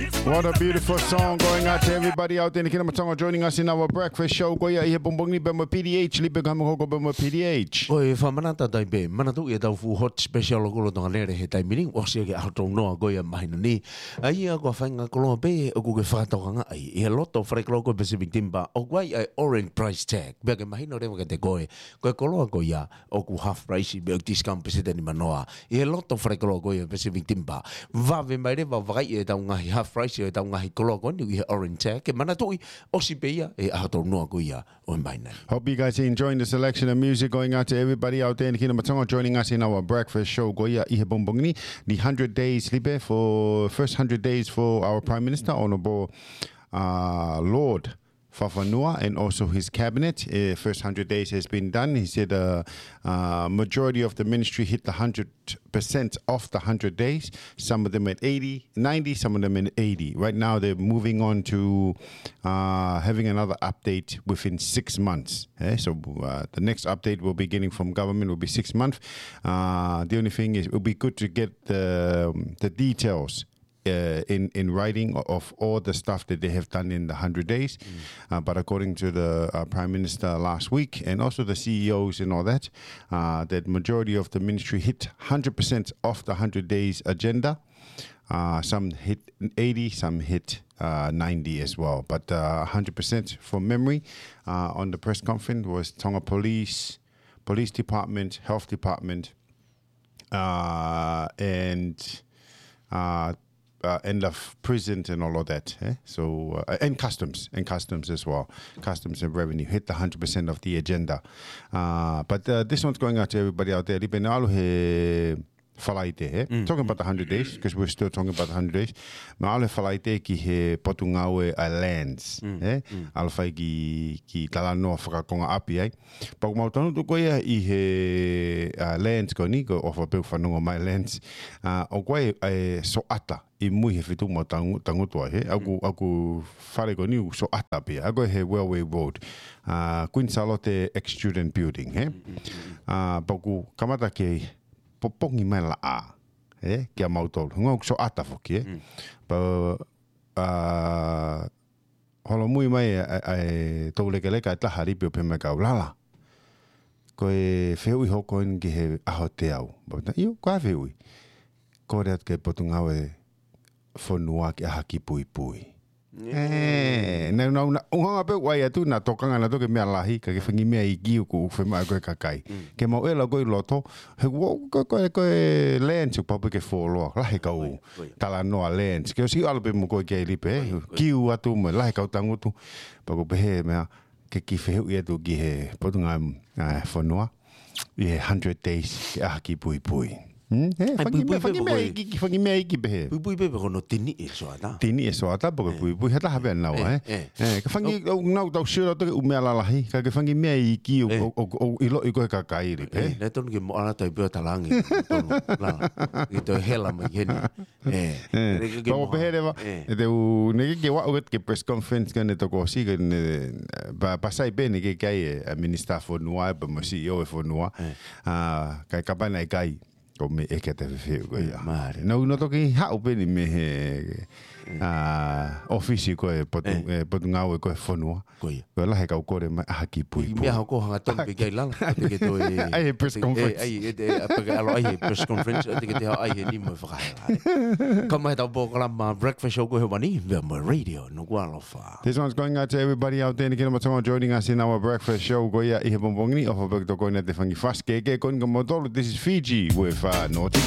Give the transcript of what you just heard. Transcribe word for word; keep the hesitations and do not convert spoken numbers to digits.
What a beautiful song going out to everybody out there in the Kingdom of Tonga joining us in our breakfast show. Ko ia ʻi he pongipongi ni pea mo P D H, Lipe, ka mo koko pea mo P D H. Ko e fakamanatu atu pē, manatuʻi ʻetau fuʻu hot special ʻo e koloa Tonga Lele he taimi ni, ʻosi ia ki he ʻaho tolu noa ko ia māhina ni. ʻA ia ko e faʻahinga koloa pē ʻoku ke fakatokangaʻi ʻi he loto fale koloa ko e Pacific Timber, ʻoku ʻi ai ʻa e orange price tag. Pea ke mahino leva kiate koe, ko e koloa ko ia ʻoku half price pea ʻoku discount pēseti ʻe nimanoa. ʻI he loto fale koloa ko ia Pacific Timber. Vave mai leva ʻo vakaiʻi ʻetau ngaahi half price ʻo ʻetau ngaahi koloa ko eni ʻi he orange tag. Ke manatuʻi, ʻosi pē ia he ʻaho tolu noa ko ia ʻo e māhina ni. Hope you guys are enjoying the selection of music going out to everybody out there in the Kingdom of Tonga joining us in our breakfast show ko ia ʻi he pongipongi ni. The hundred days, Lipe, for first hundred days for our Prime Minister, Honourable, uh, Lord Fafanua, and also his cabinet. Uh, first hundred days has been done. He said, uh, uh, majority of the ministry hit the hundred percent of the hundred days. Some of them at eighty, ninety, some of them at eighty. Right now, they're moving on to, uh, having another update within six months. Eh? So, uh, the next update we'll be getting from government will be six months. Uh, the only thing is, it would be good to get the, the details uh, in, in writing o-, of all the stuff that they have done in the hundred days. Uh, but according to the, uh, Prime Minister last week and also the C E Os and all that, uh, that majority of the ministry hit hundred percent of the hundred days agenda. Uh, some hit eighty, some hit, uh, ninety as well. But, uh, hundred percent from memory, uh, on the press conference was Tonga Police, Police Department, Health Department, uh, and, uh, uh, and the f-, prison and all of that, eh? So, uh, and customs, and customs as well. Customs and revenue hit the hundred percent of the agenda. Uh, but, uh, this one's going out to everybody out there. Lipe, naʻe ʻalu he Falaite, eh? Talking about the hundred days, 'cause we're still talking about the hundred days. Naʻe ʻalu he Falaite ki he Potungāue ʻa e Lands, eh? ʻAlu fai ki, ki talanoa fakakonga ʻapi ai. Pea ʻoku mau tangutu ko ia ʻi he, uh, Lands ko eni, ko e ʻofa pē ʻoku fanongo mai Lands. Uh, ʻoku ʻi ai e soʻata ʻi mui he feituʻu mau tangu-, tangutu ai, he. ʻOku, ʻoku fale ko eni ʻoku soʻata pē ia. ʻOku ʻi he Railway Road. Uh, Queen Sālote Ex-Student Building, he. Uh, pea ʻoku kamata ke popongi mai laʻā, he, kia mautolu. Ngau soʻata foki, he. Pea, uh, holomui mai ʻa, ʻa, ʻa e toulekeleka ʻe taha, Lipe, ʻo pehē mai kia au, Lala, ko e fehuʻi hoko eni ki he ʻaho teau. Pea u pehē, ʻio, ko e hā e fehuʻi? Kole atu ki he Potungāue Fonua ke ʻai ha kiʻi puipui. Eh, naʻa, naʻa, naʻa, ʻuhinga pē ʻoku ʻai atu, naʻa tokanga nautolu ki he meʻa lahi, ka ko e fanga kiʻi meʻa iiki ʻoku, ʻoku fiemaʻu ʻe he kakai. Ke mau ʻalu ko ē ʻi loto, he ko, ko, ko, ko e Lands ʻoku pau pē ke fuoloa, lahi e kau talanoa Lands. Ke ʻosi ʻalu pē mo koe ki ai, Lipe, kiu atu mo e lahi e kau tangutu. Pea ʻoku ou pehē meʻa, ke kiʻi fehuʻi atu ki he Potungāue, ʻa, Fonua, ʻi he hundred days ke ʻai ha kiʻi puipui. Hmm? He, fanga kiʻi meʻa, fanga kiʻi meʻa iiki, fanga kiʻi meʻa iiki pehē. Puipui pē pe ko hono tiniʻi e soʻata. Tiniʻi e soʻata, pe ko e puipui, he taha pē ʻa e ʻuhinga, he. He, ka fanga kiʻi, ʻoku nau tau sio atu ki he ʻū meʻa lalahi, ka ko e fanga kiʻi meʻa iiki ʻoku, ʻoku, ʻoku ʻiloʻi ʻe he kakai, Lipe, he. Naʻe tonu ke mo ʻalu atu ai pē ʻo talaange, tonu, Lala. ʻI he toe hela mai heni. Eh, pea ʻoku ou pehē leva, ʻe te u, naʻe ʻikai ke u aʻu ki he press conference ko eni tokosiʻi ko eni, eh, pea, pea sai pē naʻe ʻikai ke ʻi ai e, ʻa e Minisitā Fonua, pea mo e C E O e fonua. Ah, ka, kapau naʻe ʻikai, ko e meʻa ʻe ʻikai te u fefeʻi ko ia. Naʻa ku nau toki haʻu pē eni mei he, ah, ʻōfisi ko ē Potu-, eh, Potungāue ko ē Fonua. Ko ia. Ko e lahi e kau kole mai ʻai ha kiʻi puipui. Meʻa hoko hangatonu pē ki ai, Lala. Te ke toe ʻai he press conference. ʻAi, ʻe, ʻe, ʻa, pea ke ʻalu ʻai he press conference, ʻe te ke toe ʻai he nima e fakahela. Ka mai ʻetau polokalama breakfast show ko ē he ʻaho ni, pea mo e Radio Nukuʻalofa. This one's going out to everybody out there in the Kingdom of Tonga joining us in our breakfast show ko ia ʻi he pongipongi ni, ʻofa pē ʻoku tokoni atu e fanga kiʻi fasi kehekehe ko eni kia moutolu. This is Fiji with, uh, Naughty.